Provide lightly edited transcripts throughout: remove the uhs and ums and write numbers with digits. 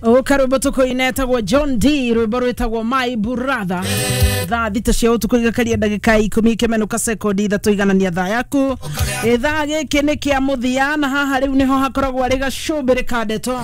Karwĩmbo tũkũina etagwo John D, rwĩmbo rwĩtagwo My Brother. Thaa 6 cia ũtukũ igakaria ndagĩka 10 ikĩmenũka sekondi 3 iganania thaa yaku. Gĩthaa gĩkĩ nĩ kĩa mũthia, na haha rĩu nĩho hakoragwo arĩ gacũmbĩrĩ ka ndeto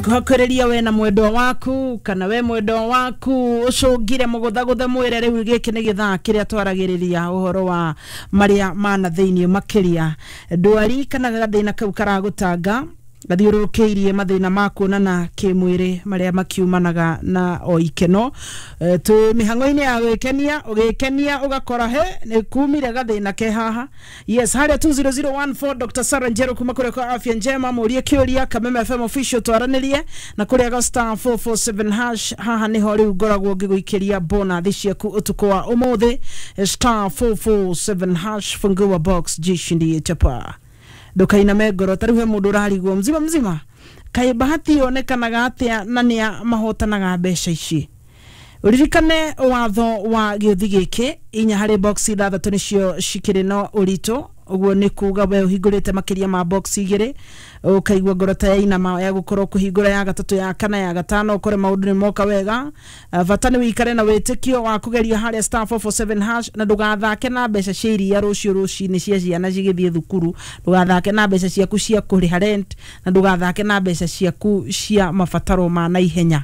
ngũhakwĩrĩria we na mwendwa waku, kana we mwendwa waku ũcũngire mũgũthagũthe mwĩre rĩu gĩkĩ nĩ gĩthaa kĩrĩa twaragĩrĩria ũhoro wa marĩa mana thĩinĩ, makĩria ndwari kana gathĩna kau karagũtanga gathiũrũrũkĩirie mathĩna ma kuonana kĩmwĩrĩ marĩa makiumanaga na o ikeno. Twĩ mĩhang'o-inĩ ya gwĩkenia, ũgĩkenia ũgakora he nĩ kumire gathĩna ke haha. Yes, harĩa 20014, Dr. Sarah Njeru kuma kũrĩa kwa Afya Njema, mũrie kĩũria Kameme FM official, twaranĩrie na kũrĩa ga *447#. Haha nĩho rĩu ngoragwo ngĩgũikĩria bonathi ciaku ũtukũ wa ũmũthĩ. *447#, fungua box, jishindie chapa, ndukainame ngoro. Ta rĩu he mũndũ ũrarigwo mzima mzima, kaĩ bahati yonekanaga atĩa na nĩa mahotanaga mbeca ici? Ũririkane watho wa gĩũthi gĩkĩ, 4 harĩ box 6 nĩcio cikĩrĩ na ũritũ. Ũguo nĩ kuga we ũhingũrĩte makĩria ma box 2, ũkaigua ngoro ta yainama ya gũkorwo kũhingũra ya gatatũ, ya kana, ya gatano, ũkore maũndũ nĩ moka wega. Bata nĩ wĩikare na wĩtĩkio wa kũgeria harĩa *447# na ndũgathake na mbeca cia iria rũciũ rũcinĩ cia ciana cigĩthiĩ thukuru, ndũgathake na mbeca ciaku cia kũrĩha rent, na ndũgathake na mbeca ciaku cia mabataro ma naihenya.